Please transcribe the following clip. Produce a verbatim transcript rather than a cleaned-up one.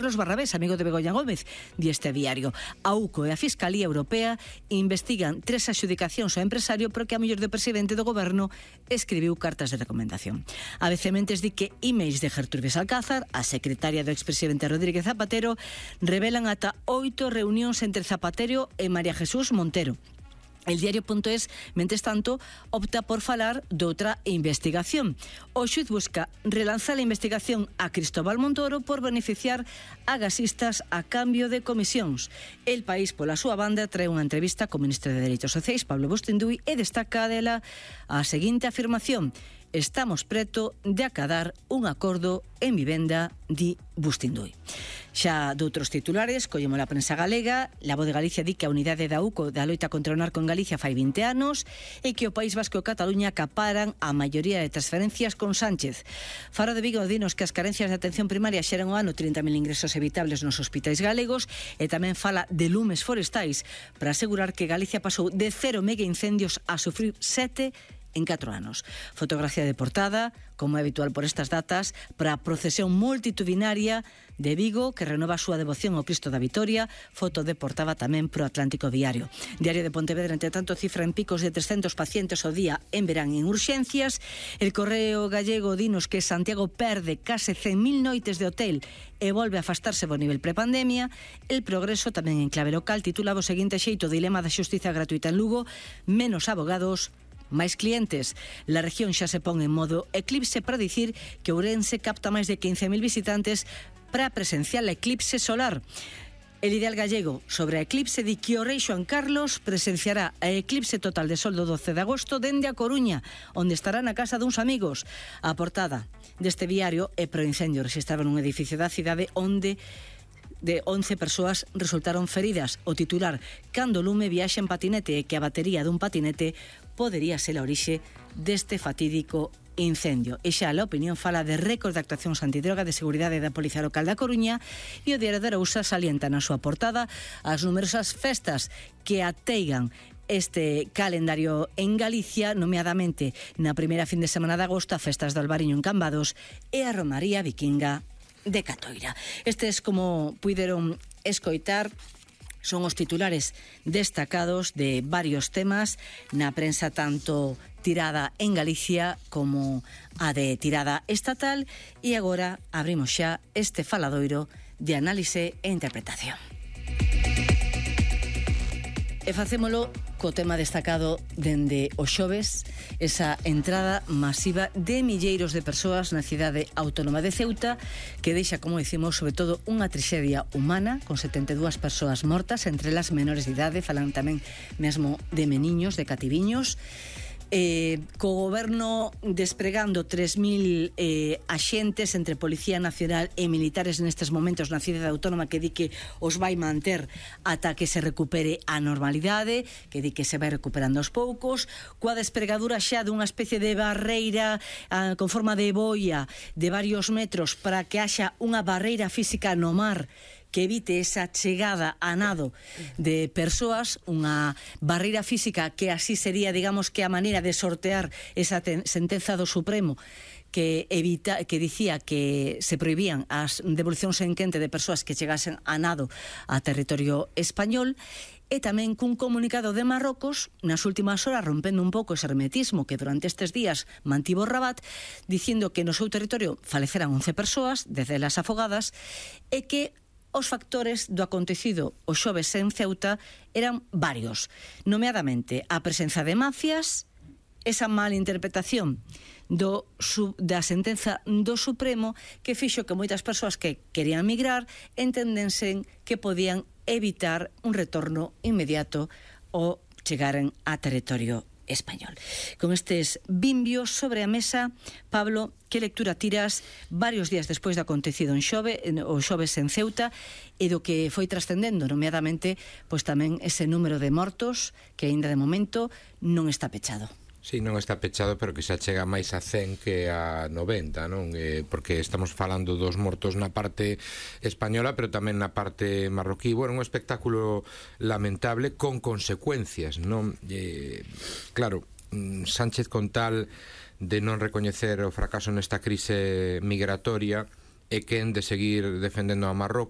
Carlos Barrabés, amigo de Begoña Gómez, di este diario. A U C O e a Fiscalía Europea investigan tres adxudicacións ao empresario porque a muller do presidente do goberno escribiu cartas de recomendación. A B C Mentes di que emails de Gertrudis Alcázar, a secretaria do expresidente Rodríguez Zapatero, revelan ata oito reunións entre Zapatero e María Jesús Montero. El diario.es, mentres tanto, opta por falar de outra investigación. O xuiz busca relanzar a investigación a Cristóbal Montoro por beneficiar a gasistas a cambio de comisións. El País, pola súa banda, trae unha entrevista co ministro de Dereitos Sociais, Pablo Bustinduy, e destaca dela a seguinte afirmación: estamos preto de acadar un acordo en vivenda, di Bustinduy. Xa doutros titulares, collemos a prensa galega. La Voz de Galicia di que a unidade da U C O da loita contra o narco en Galicia fai vinte anos e que o País Vasco e Cataluña acaparan a maioría de transferencias con Sánchez. Faro de Vigo dinos que as carencias de atención primaria xeran o ano trinta mil ingresos evitables nos hospitais galegos e tamén fala de lumes forestais para asegurar que Galicia pasou de cero mega incendios a sufrir sete en catro anos. Fotografía de portada, como é habitual por estas datas, para a procesión multitudinaria de Vigo, que renova a súa devoción ao Cristo da Vitoria. Foto de portada tamén pro Atlántico Diario. Diario de Pontevedra, entre tanto, cifra en picos de trescentos pacientes ao día en verán en urxencias. El Correo Gallego dinos que Santiago perde case cen mil noites de hotel e volve a afastarse do nivel prepandemia. El Progreso, tamén en clave local, titulaba o seguinte xeito: dilema da xustiza gratuita en Lugo, menos abogados, máis clientes. La región xa se pon en modo eclipse para dicir que Ourense capta máis de quince mil visitantes para presenciar a eclipse solar. El Ideal Gallego sobre a eclipse di que o rei Xoán Carlos presenciará a eclipse total de sol do doce de agosto dende a Coruña, onde estará na casa duns amigos. A portada deste diario é pro incendio rexistrado nun edificio da cidade onde de once persoas resultaron feridas. O titular: cando o lume viaxa en patinete e que a batería dun patinete podería ser a orixe deste fatídico incendio. E xa a opinión fala de récord de actuacións antidroga de seguridade da Policía Local da Coruña, e o Diario de Arousa salienta na súa portada as numerosas festas que ateigan este calendario en Galicia, nomeadamente na primeira fin de semana de agosto, a festas do Albariño en Cambados e a Romaría Vikinga de Catoira. Estes, como puideron escoitar, son os titulares destacados de varios temas na prensa tanto tirada en Galicia como a de tirada estatal, e agora abrimos xa este faladoiro de análise e interpretación. E facémolo co tema destacado dende o xoves, esa entrada masiva de milleiros de persoas na cidade autónoma de Ceuta, que deixa, como dicimos, sobre todo unha traxedia humana, con setenta e dúas persoas mortas, entre elas menores de idade, falan tamén mesmo de meniños, de cativiños. Eh, co goberno despregando tres mil eh, axentes entre Policía Nacional e militares nestes momentos na cidade autónoma, que di que os vai manter ata que se recupere a normalidade, que di que se vai recuperando aos poucos, coa despregadura xa dunha especie de barreira ah, con forma de boia de varios metros para que haxa unha barreira física no mar que evite esa chegada a nado de persoas, unha barreira física que así sería, digamos, que a maneira de sortear esa ten- sentenza do Supremo que evita que dicía que se prohibían as devolucións en quente de persoas que chegasen a nado a territorio español. E tamén cun comunicado de Marrocos nas últimas horas, rompendo un pouco ese hermetismo que durante estes días mantivo Rabat, dicindo que no seu territorio faleceran once persoas, desde las afogadas, e que os factores do acontecido o xoves en Ceuta eran varios, nomeadamente a presenza de mafias, esa mala interpretación do, su, da sentenza do Supremo, que fixo que moitas persoas que querían migrar entendensen que podían evitar un retorno inmediato ou chegaren a territorio español. Con estes bimbios sobre a mesa, Pablo, que lectura tiras varios días despois do acontecido en Xove, o xoves en Ceuta, e do que foi trascendendo, nomeadamente, pois tamén ese número de mortos que aínda de momento non está pechado? Sí, non está pechado, pero que xa chega máis a cen que a noventa, non? Eh, porque estamos falando dos mortos na parte española, pero tamén na parte marroquí. Bueno, un espectáculo lamentable con consecuencias, non? Eh, claro, Sánchez, con tal de non recoñecer o fracaso nesta crise migratoria, e quen de seguir defendendo a Marrocos